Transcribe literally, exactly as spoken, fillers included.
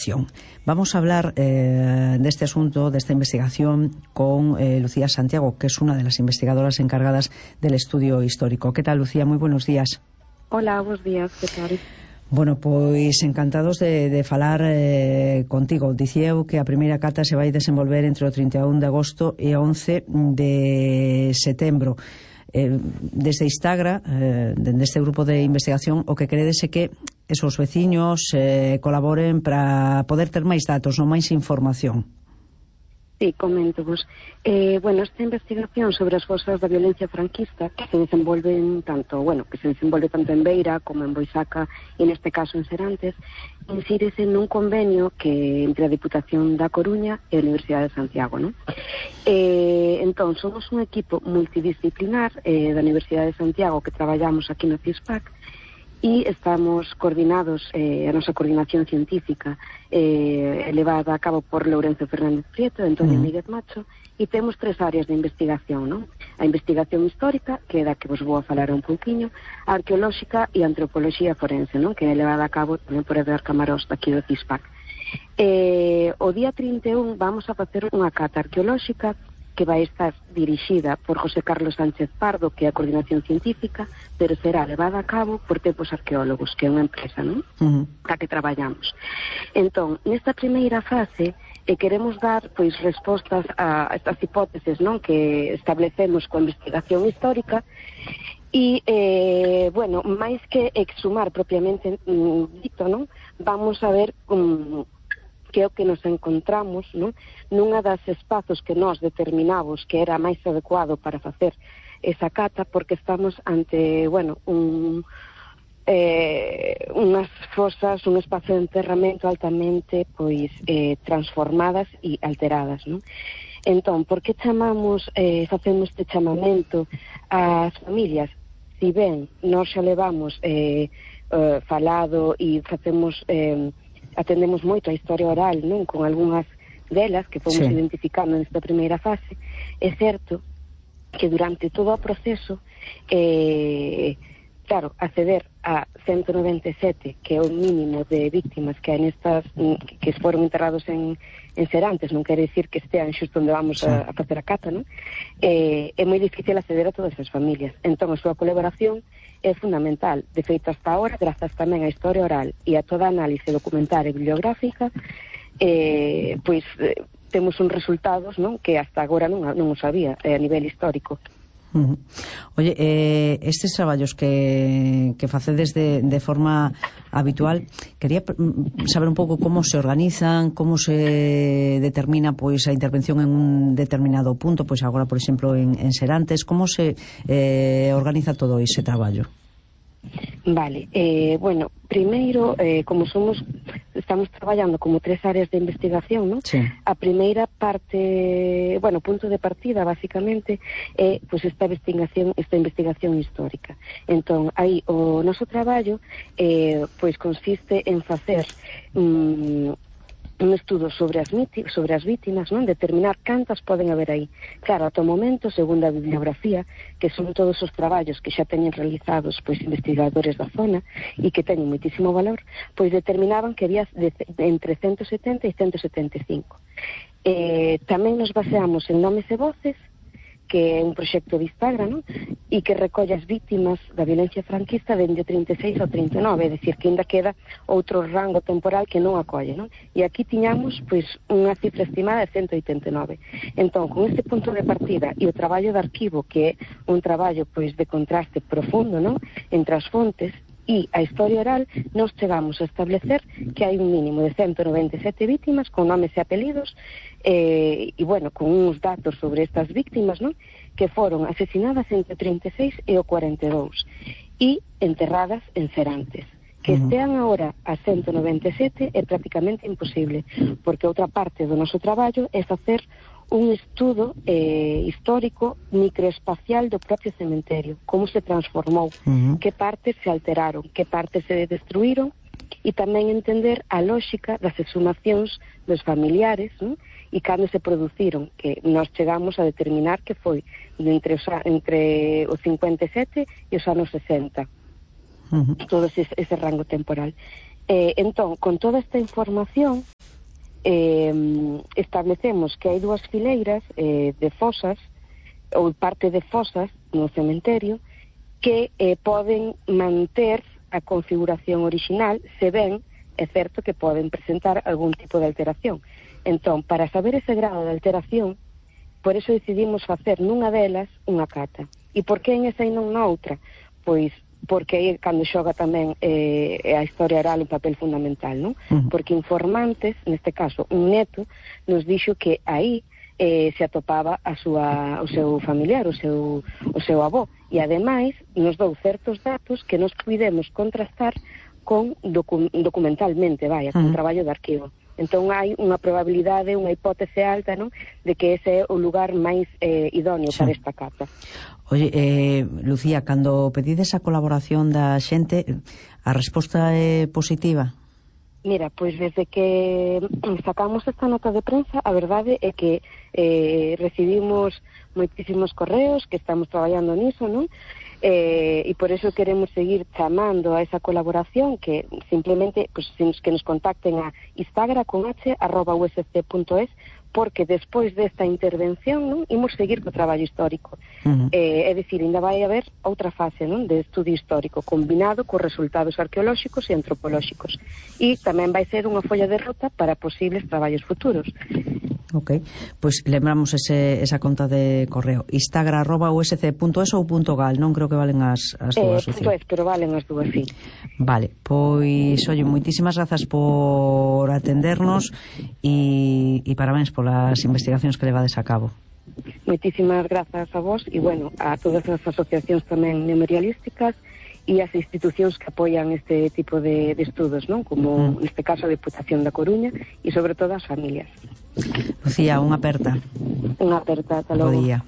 investigación. Vamos a hablar eh, de este asunto, de esta investigación, con eh, Lucía Santiago, que es una de las investigadoras encargadas del estudio histórico. ¿Qué tal, Lucía? Muy buenos días. Hola, buenos días, que tal? Bueno, pois encantados de, de falar eh, contigo. Dicía eu que a primeira cata se vai desenvolver entre o trinta e un de agosto e o once de setembro. Eh, desde Instagra, eh, deste grupo de investigación, o que queredes é que esos veciños eh, colaboren para poder ter máis datos, non máis información. Sí, comento vos. Eh, bueno, esta investigación sobre as fosas da violencia franquista que se desenvolven tanto, bueno, que se desenvolve tanto en Beira como en Boisaca e neste caso en Serantes, insírese nun convenio que entre a Diputación da Coruña e a Universidade de Santiago, non? Eh, entón, somos un equipo multidisciplinar eh, da Universidade de Santiago que traballamos aquí no CISPAC e estamos coordinados, eh, a nosa coordinación científica eh, elevada a cabo por Lourenzo Fernández Prieto e Antonio Mm. Míguez Macho, e temos tres áreas de investigación, non? A investigación histórica, que é da que vos vou a falar un pouquiño, a arqueolóxica e a antropoloxía forense, non? Que é elevada a cabo tamén por Edgar Camarós daqui do CISPAC. Eh, o día trinta e un vamos a facer unha cata arqueolóxica que vai estar dirixida por José Carlos Sánchez Pardo, que é a coordinación científica, pero será levada a cabo por Tempos Arqueólogos, que é unha empresa, non? Uh-huh. Da que traballamos. Entón, nesta primeira fase, eh, queremos dar, pois, respostas a estas hipóteses, non? Que establecemos coa investigación histórica, e, eh, bueno, máis que exhumar propiamente mm, dito, non? Vamos a ver um, que é o que nos encontramos, non? Nunha das espazos que nós determinamos que era máis adecuado para facer esa cata, porque estamos ante, bueno, un, eh, unhas fosas, un espazo de enterramento altamente, pois, eh, transformadas e alteradas, non? Entón, por que chamamos, eh, facemos este chamamento ás familias? Si ben nós xa levamos eh, eh, falado e facemos... Eh, atendemos moito a historia oral, non? Con algunhas delas que fomos sí. identificando nesta primeira fase. É certo que durante todo o proceso, eh, claro, acceder a ciento noventa e sete, que é o mínimo de víctimas que hai nestas, que foron enterrados en, en Serantes, non quere dicir que estean xusto onde vamos sí. a, a facer a cata, non? Eh, é moi difícil acceder a todas as familias. Entón, a súa colaboración é fundamental. De feito, hasta ahora, grazas tamén á historia oral e a toda a análise documental e bibliográfica, eh, pois eh, temos uns resultados, non? Que hasta agora non, non os sabía eh, a nivel histórico. Uh-huh. Oye, eh, estes traballos que, que facedes de, de forma habitual, quería saber un pouco como se organizan, como se determina pois a intervención en un determinado punto, pois agora, por exemplo, en, en Serantes, como se eh, organiza todo ese traballo? Vale, eh, bueno, primeiro, eh, como somos, estamos traballando como tres áreas de investigación, ¿no? Sí. A primeira parte, bueno, punto de partida, basicamente, é, pois, pues, esta investigación, esta investigación histórica. Entón, aí, o noso traballo, eh, pois, consiste en facer mm, un estudo sobre as, sobre as vítimas, non? Determinar cantas poden haber aí. Claro, ata o momento, segundo a bibliografía, que son todos os traballos que xa teñen realizados pois investigadores da zona e que teñen moitísimo valor, pois determinaban que había de, de entre ciento setenta e ciento setenta e cinco. Eh, tamén nos baseamos en nomes e voces, que é un proxecto de Instagram, non? E que recolle as vítimas da violencia franquista dende o trinta e seis ao trinta e nove, é dicir, que ainda queda outro rango temporal que non acolle, non? E aquí tiñamos, pois, unha cifra estimada de ciento oitenta e nove. Entón, con este punto de partida e o traballo de arquivo, que é un traballo, pois, de contraste profundo, non? Entre as fontes e a historia oral, nos chegamos a establecer que hai un mínimo de ciento noventa e sete vítimas con nomes e apelidos eh, e, bueno, con uns datos sobre estas víctimas, non? Que foron asesinadas entre o trinta e seis e o cuarenta e dous e enterradas en Serantes. Que estean agora a ciento noventa e sete é prácticamente imposible, porque outra parte do noso traballo é facer un estudo eh, histórico microespacial do propio cementerio, como se transformou, uh-huh. que partes se alteraron, que partes se destruíron, e tamén entender a lógica das exhumacións dos familiares, non? E cando se produciron, que nós chegamos a determinar que foi entre, os, entre o cincuenta e sete e os anos sesenta, uh-huh. todo ese, ese rango temporal. Eh, entón, con toda esta información, eh, establecemos que hai dúas fileiras eh, de fosas, ou parte de fosas no cementerio, que eh, poden manter a configuración original, se ben é certo que poden presentar algún tipo de alteración. Entón, para saber ese grado de alteración, por eso decidimos facer nunha delas unha cata. E por que en esa e non na outra? Pois porque aí cando xoga tamén eh, a historia oral un papel fundamental, non? Uh-huh. Porque informantes, neste caso un neto, nos dixo que aí eh, se atopaba a súa, o seu familiar, o seu, o seu avó, e ademais nos dou certos datos que nos puidemos contrastar con docu documentalmente, vaya, con uh-huh. traballo de arquivo. Entón hai unha probabilidade, unha hipótese alta, non, de que ese é o lugar máis eh, idóneo sí. para esta cata. Oye, eh, Lucía, cando pedides a colaboración da xente, a resposta é positiva? Mira, pois desde que sacamos esta nota de prensa, a verdade é que eh, recibimos moitísimos correos, que estamos traballando niso, non? Eh, e por eso queremos seguir chamando a esa colaboración, que simplemente pues, que nos contacten a instagram con h arroba u s c punto es, porque despois desta intervención, non, imos seguir co traballo histórico. Uh-huh. eh, é dicir, ainda vai haber outra fase, non, de estudio histórico combinado cos resultados arqueolóxicos e antropolóxicos, e tamén vai ser unha folla de ruta para posibles traballos futuros. Ok, pois lembramos ese, esa conta de correo instagram arroba u s c punto es ou punto gal, non creo que valen as, as dúas. Eh, punto es, pero valen as dúas, sí. Vale, pois, oye, moitísimas grazas por atendernos e, e parabéns polas investigacións que levades a cabo. Moitísimas grazas a vos e, bueno, a todas as asociacións tamén memorialísticas e as institucións que apoian este tipo de, de estudos, non? Como, mm. neste caso, a Deputación da Coruña e, sobre todo, as familias. Lucía, unha aperta. Unha aperta, ata logo. Bo día.